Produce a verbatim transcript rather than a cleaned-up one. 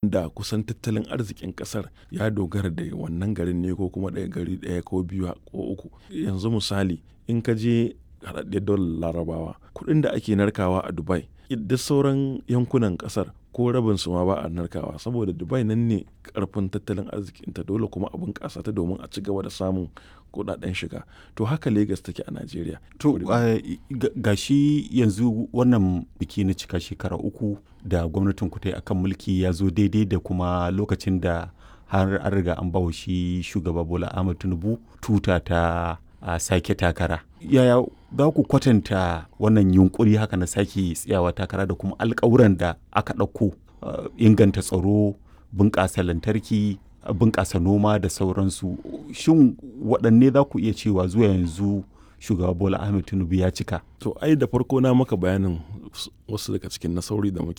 Da kusan tattalin arzikin ƙasar ya dogara da wannan garin ne ko kuma ɗaya gari ɗaya ko biyu ko uku. Yanzu misali in ka je haɗaɗɗiyar daular Larabawa, kuɗin da ake narkawa a Dubai duk sauran yankunan ƙasar ko rabin su ma ba a narkawa saboda Dubai nan ne ƙarfin tattalin arzikinta, dole kuma a bunƙasa ta domin a ci gaba da samun kuɗaɗen shiga. To haka Legas take a Najeriya. To ga shi yanzu wannan biki na cika shekara uku da gwamnatin ku ta yi akan mulki ya zo daidai da kuma lokacin da har an riga an bawa shi shugaba Bola Ahmed Tinubu tuta ta a sake takara. Yaya za ku kwatanta wannan yunkuri haka na sake tsayawa takara da kuma alkawuran da aka ɗauko inganta tsaro, bunƙasa lantarki, bunƙasa noma da sauransu. Shin waɗanne za ku iya cewa zuwa yanzu shugaba Bola Ahmed Tinubu ya cika? To ai da farko na maka bayanin wasu daga cikin nasarori da muke